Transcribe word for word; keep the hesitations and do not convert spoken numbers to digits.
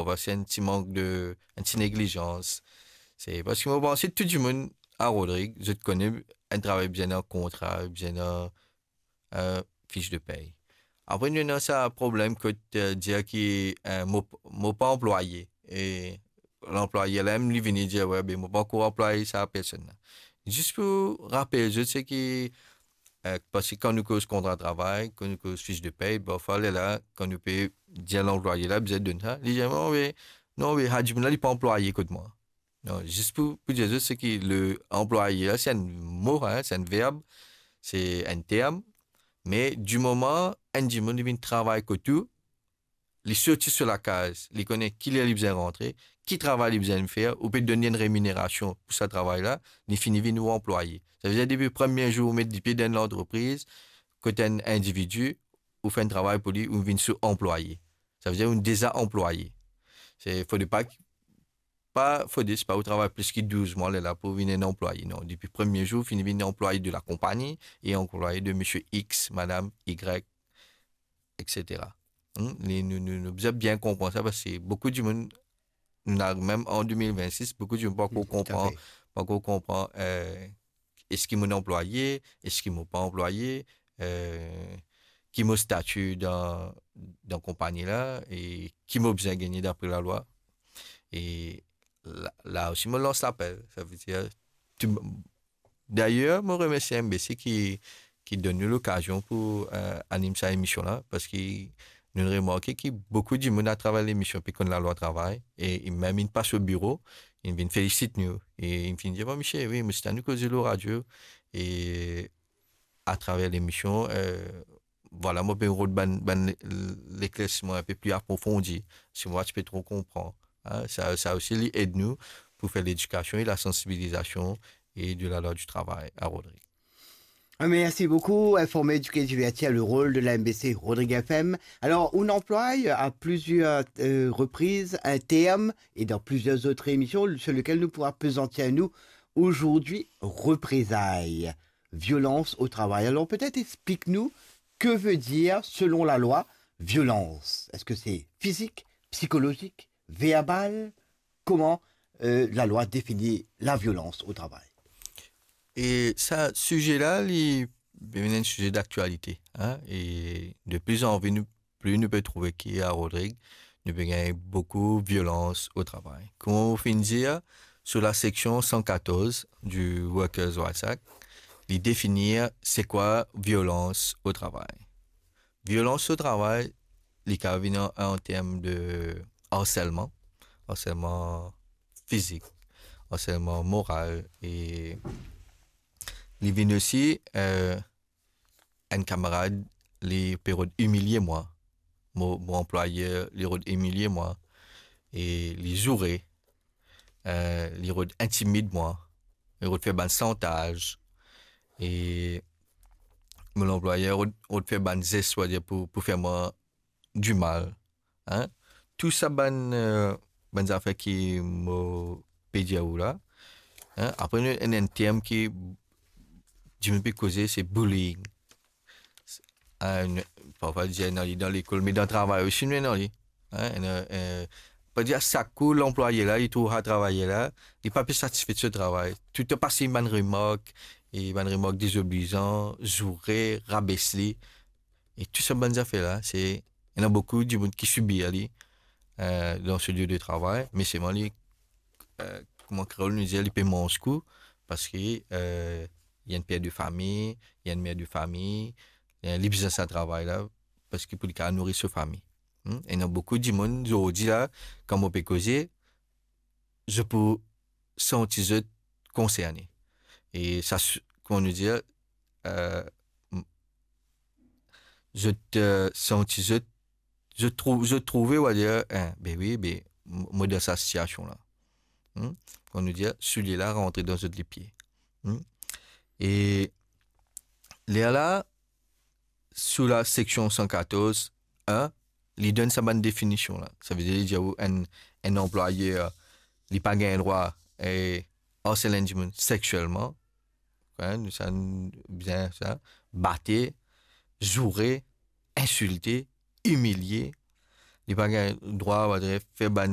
parfwa se enn ti mank de, enn ti neglizans. Se parski mo panse tou dimoun a Rodrig, zot kone enn travay bizin dan kontra, bizin dan, eh, fich de pey. Apre, nou ena sa problem kot, eh, dir ki, eh, mo, mo pa anplwaye. E lanplwaye la mem, li vini dir, "We, be mo pa ankor anplwaye sa personn la." Zis pou rapel zot, se ki, eh, parski kan nou koz kontra travay, kan nou koz fich de pey, parfwa, lerla, kan nou pe dir lanplwaye la, bizin donn sa, li dir, "Non, be, non, be, sa dimoun la, li pa anplwaye kot mwa." Non, zis pou, pou dir zot, se ki le anplwaye la, se enn mo, hein, se enn verb, se enn term, me di moman enn dimoun li vinn travay kot ou, li sorti so lakaz, li kone ki ler li bizin rantre, ki travay li bizin fer, ou pe donn li enn reminerasion pou sa travay la, li fini vinn ou anplwaye. Savedir depi premie zour ou met lipie dan enn lantrepriz, kot enn individi, ou fer enn travay pou li, ou vinn so anplwaye. Savedir ou deza anplwaye. Se, fode pa ki, pa, fode, se pa ou travay plis ki douz mwa, lerla pou vinn enn anplwaye. Non, depi premie zour, fini vinn anplwaye de lakonpagni e anplwaye de misie X, madam Y, et cetera. Hmm? Li, nou, nou, nou bizin bien konpran sa, parski boukou dimoun, nou ena mem an de mil vennsis, boukou dimoun pa ankor konpran, pa ankor konpran, eh, eski mo anplwaye, eski mo pa anplwaye, eh, ki mo stati dan, dan konpagni la, e ki mo bizin gagne dapre lalwa. E la, la osi, mo lans lapel. Savedir, tou, dayer, mo remersie M B C ki, ki donn nou lokazion pou, eh, anim sa emision la, parski nou remarke ki boukou dimoun atraver lemision pe konn lalwa travay, e, e mem inn pas o biro, inn vinn felisit nou, e inn vinn dir, "Bon, misie, wi, misie, nou koze lor radio, e atraver lemision, eh, vwala, mo pe rod bann, bann le-, leklersiman inpe pli aprofondi, si mwa ti pe tro konpran." Hein, sa, sa osi, li ed nou pou fer ledikasion e lasansibilizasion e de lalwa di travay a Rodrig. Merci beaucoup. Informer, éduquer, divertir, le rôle de la M B C Rodrig F M. Alors, on emploie à plusieurs, euh, reprises un terme et dans plusieurs autres émissions sur lequel nous pourrons appesantir nous aujourd'hui, représailles, violence au travail. Alors peut-être explique-nous, que veut dire, selon la loi, violence ? Est-ce que c'est physique, psychologique, verbal ? Comment, euh, la loi définit la violence au travail ? E sa size la, li vinn enn size daktialite, hein, e de pli an pli nou, pli nou pe trouve ki a Rodrig, nou pe gagn boukou violans o travay. Kouma mo finn dir, sou la seksion san katorz di Workers' Rights Act, li definir se kwa violans o travay. Violans o travay, li kapav vinn an, an term de arselman, arselman fizik, arselman moral, e li vinn osi, eh, enn kamarad, li pe rod imilie mwa, mo, mo anplwayer, li rod imilie mwa, e li zoure, eh, li rod intimid mwa, li rod fer bann santaz, e mo lanplwayer rod, rod fer bann zes, swadir pou, pou fer mwa dimal, hein. Tou sa bann, eh, bann zafer ki mo pe dir ou la, hein. Apre, nou ena enn term ki dimoun pe koze, se bullying. Ah, nou, parfwa, dir ena li dan lekol, me dan travay osi, nou ena li. Hein, ena, eh, pa dir a sak kou, lanplwaye la, li trouv sa travayer la, li pa pe satisfe de so travay. Toultan pas li bann remark, e bann remark dezoblizan, zoure, rabes li. E tou sa bann zafer la, se, ena boukou dimoun ki sibir li, eh, dan so lie de travay, me selman li, eh, kouma kreol nou dir, li pe manz kou, parski, eh, li enn per de fami, li enn mer de fami, eh, li bizin sa travay la, parski pou li kapav nouri so fami. Hmm? Ena boukou dimoun, zordi la, kan mo pe koze, zot pou santi zot konserne. E sa, s-, kouma nou dir, eh, m-, zot, eh, santi zot, zot trou-, zot trouve, ou a dir, eh, be wi, be, m-, mo dan sa sitiasion la. Hmm? Kouma nou dir, soulie la rantre dan zot lipie. Hmm? E lerla, sou la seksion san katorz en, li donn sa bann definision la. Savedir, li dir ou enn, enn anplwayer, li pa gagn drwa, eh, arsel enn dimoun seksielman. Hein, nou sa, nou bizin sa, bate, zoure, insilte, imilie. Li pa gagn drwa, on va dire, fer bann